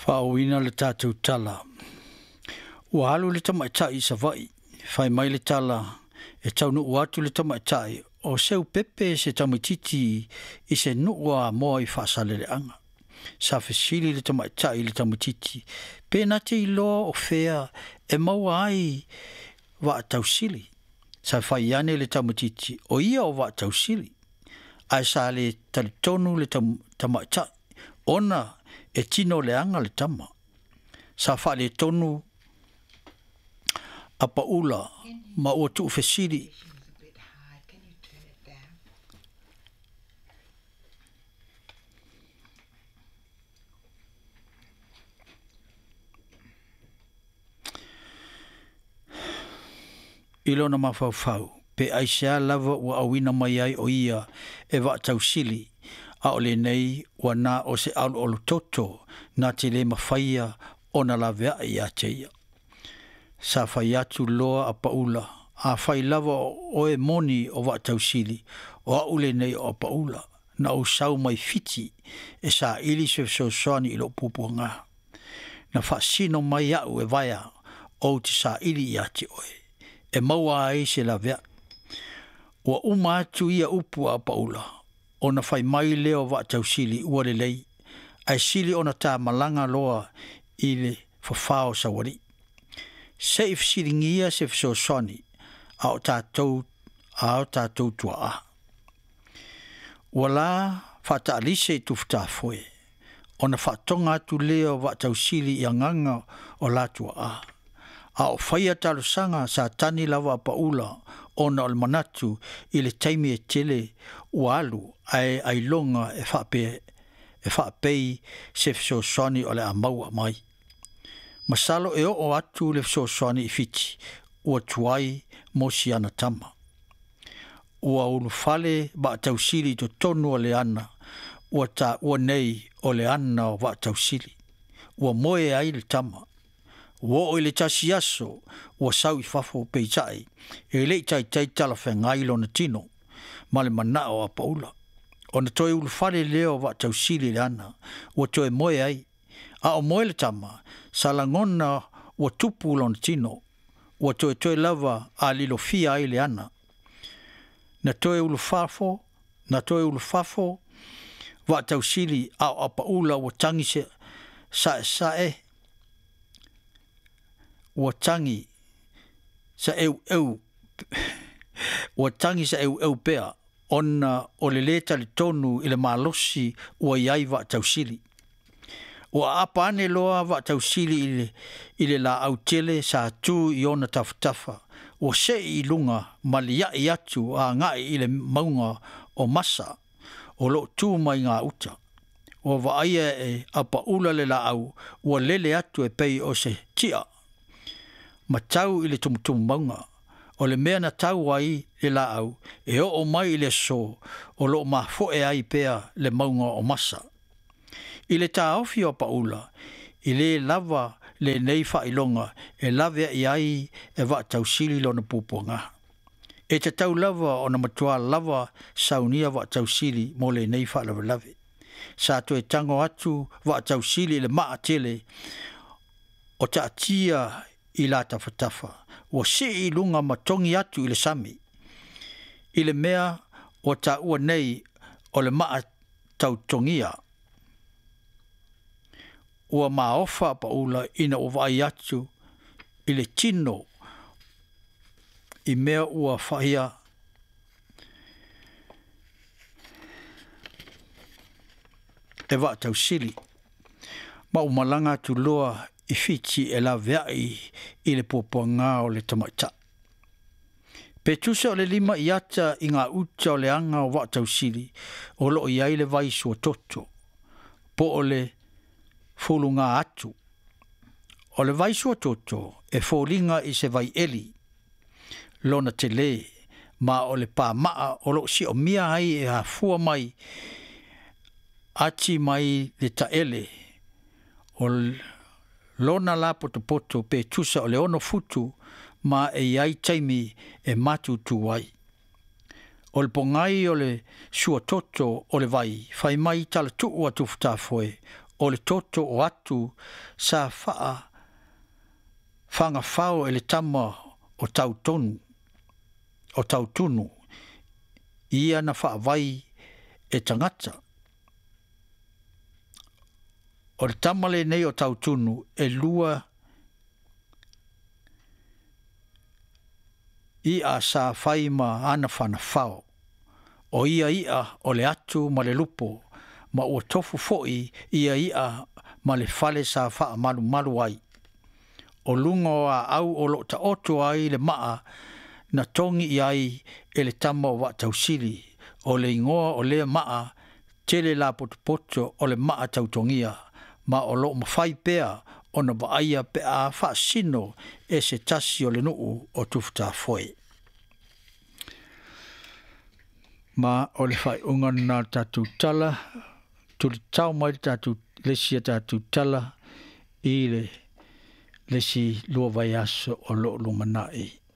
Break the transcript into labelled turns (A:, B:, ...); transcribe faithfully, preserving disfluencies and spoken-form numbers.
A: Faaoina le tatou tala. Ua alu le tamaitai i Savaii, fai mai le tala e taunuu atu le tamaitai o seu pepe se tamaititi i se nuu a Amoa i Faasaleleaga. Sa fesili le tamaitai i le tamaititi, pe na te iloa o fea e maua ai Vaatausili. Sa fai ane le tamaititi, o ia o Vaatausili, ae sa le talitonu le tamaitai, ona e tino leaga le tama. Sa faaletonu Apaula
B: Can you,
A: ma ua tuufesili
B: is a bit high. Can you turn it down?
A: I lona mafaufau, pe aisea lava ua auina mai ai o ia e Vaatausili, a o lenei ua na o se aloalototo na te le mafaia ona laveai ia te ia. Sa fai atu loa Apaula, afai lava o oe moni o Vaatausili, o au lenei o Apaula, na ou sau mai Fiti e saili se fesoasoani i lou puapuaga. Na faasino mai au e vaea ou te saili ia te oe, e maua ai se laveai. Ua uma atu ia upu a Apaula, ona fai mai lea o Vaatausili ua lelei, ae sili ona ta malaga loa i le fafao saualii. Se i fesiligia se fesoasoani a o tatou a o tatou tuaa. Ua la faataalise i Tufutafoe, ona faatoga atu lea o Vaatausili i agaga o la tuaa. A o faia talosaga sa tani lava Apaula ona o le manatu i le taimi e tele ua alu ae ailoga e faape e faapei se fesoasoani o le a maua mai. Masalo e oo atu le fesoasoani i Fiti, ua tuai mo siana tama. Ua ulufale Vaatausili i totonu o le ana, ua taua nei o le ana o Vaatausili. Ua moe ai le tama. Ua oo i le tasi aso, ua sau i fafo peitai, e le i taitai talafeagai lona tino, ma le manao o Apaula. Ona toe ulufale lea o Vaatausili i le ana, ua toe moe ai. A o moe le tama, sa lagona ua tupu lona tino, ua toetoe lava a lilofia ai le ana. Na toe ulufafo, na toe ulufafo Vaatausili a o Apaula ua tagi se saesae, ua tagi saeueu ua tagi saeueu pea, ona o le lē talitonu i le malosi ua i ai Vaatausili. Ua aapa ane loa Vaatausili i le, i le laau tele sa tu i ona tafatafa, ua sei i luga ma liai atu agai i le mauga o Masa o loo tu mai gauta. Ua vaaia e Apaula le laau ua lele atu e pei o se tia ma tau i le tumutumu mauga. O le mea na tau ai le laau e oo mai i le aso o loo mafoe ai pea le mauga o Masa. I le taofi o Apaula, i lē lava lenei faailoga e laveai ai e Vaatausili lona puapuaga. E tatau lava ona matua lava saunia Vaatausili mo lenei faalavelave. Sa toe tago atu Vaatausili i le maa tele o taatia i la tafatafa, ua sii i luga ma togi atu i le sami, i le mea ua taua nei o le maa tautogia. Ua maofa Apaula ina ua vaai atu i le tino i mea ua faia e Vaatausili, ma ua malaga atu loa i Fiti e laveai i le puapuaga o le tamaitai. Pe tusa o le lima i ata i gauta o le aga o Vaatausili, o loo i ai le vai suatoto, po o le fuluga atu. O le vai suatoto e foliga i se vaieli lona telē, ma o le pamaa o loo siomia ai e afua mai ati mai le taele o lona lapotopoto pe tusa o le ono futu ma e i ai taimi e matutu ai. O le pogai o le suatoto o le vai, fai mai talatuu a Tufutafoe, O le toto o atu sa faa fagafao e le tama o tautonu o tautunu ia na faavai e tagata. O le tama lenei o tautunu e lua i'a sa fai ma ana fanafao. O ia i'a o le atu ma le lupo, ma ua tofu fo'i ia i'a ma le fale sa faamalumalu ai. O luga o aau o loo taoto ai le maa na togi i ai e le tama o Vaatausili. O le igoa o lea maa tele lapotopoto o le maa tautogia, ma o loo mafai pea ona vaaia pe a faasino e se tasi o le nuu o Tufutafoe. Ma o le faaiuga lena le tatou tala tulitao mai le tatou le isi a tatou tala i le le isi lua vaiaso o loo lumanai.